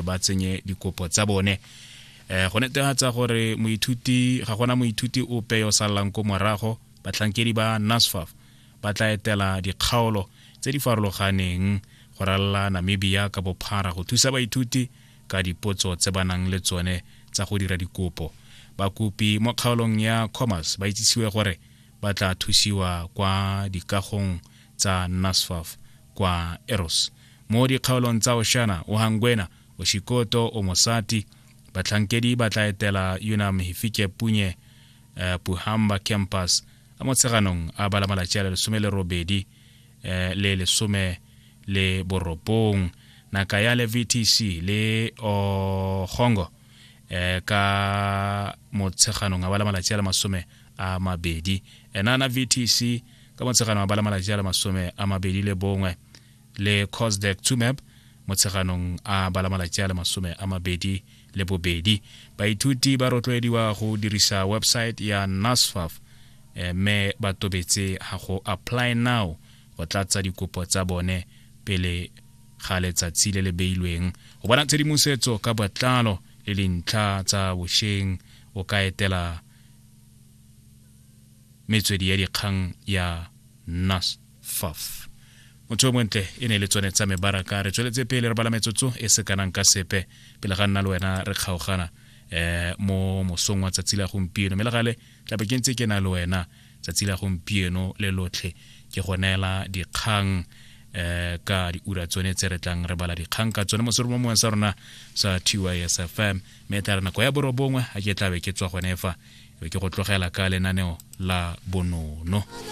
ba tsenye dikopo tsa bone. Go netefatsa gore moithuti ga gona moithuti ope yo sallang ko morago, batlhankedi ba NSFAF ba tla etela dikgaolo tse di farologaneng go ralala Namibia ka bophara go thusa baithuti ka dipotso tse ba nang le tsone tsa go dira dikopo. Bakopi mo kgaolong ya Khomas ba itsisiwe gore ba tla thusiwa kwa dikagong tsa NSFAF kwa Eros. Mo dikgaolong tsa Oshana, Ohangwena, Oshikoto, Omusati, batlhankedi ba tla etela Unam Hifikepunye Pohamba Campus a Motsheganong a bala malatsi a le 18 le 19. Nakayale VTC le Ogongo ka Motsheganong a bala malatsi a le 20. Enana VTC ka Motsheganong a bala malatsi a le 21 le Cosdec Tsumeb Motsheganong a bala malatsi a le 22. Baithuti ba rotloediwa go dirisa website ya NSFAF mme ba tobetse ga go apply now go tlatsa dikopo tsa bone pele ga letsatsi le le beilweng. Go bona tshedimosetso ka botlalo le dintlha tsa bošeng o ka etela metswedi ya dikgang ya NSFAF. Motho yo montle, e ne e le tsone tsa mebaraka. Re tsweletse pele re bala metsotso e se kanang ka sepe pele ga nna le wena re kgaogana mo mosong wa tsatsi la gompieno. Mme le gale tlabe ke ntse ke na le wena tsatsi la gompieno le lotlhe, ke go neela dikgang ka diura tsone tse re tlang re bala dikgang ka tsone mo seromomong sa rona sa TYS FM. Mme tla re nako ya 9 a ke tlabe ke tswa gone fa, e be ke go tlogela ka lenaneo la bonono.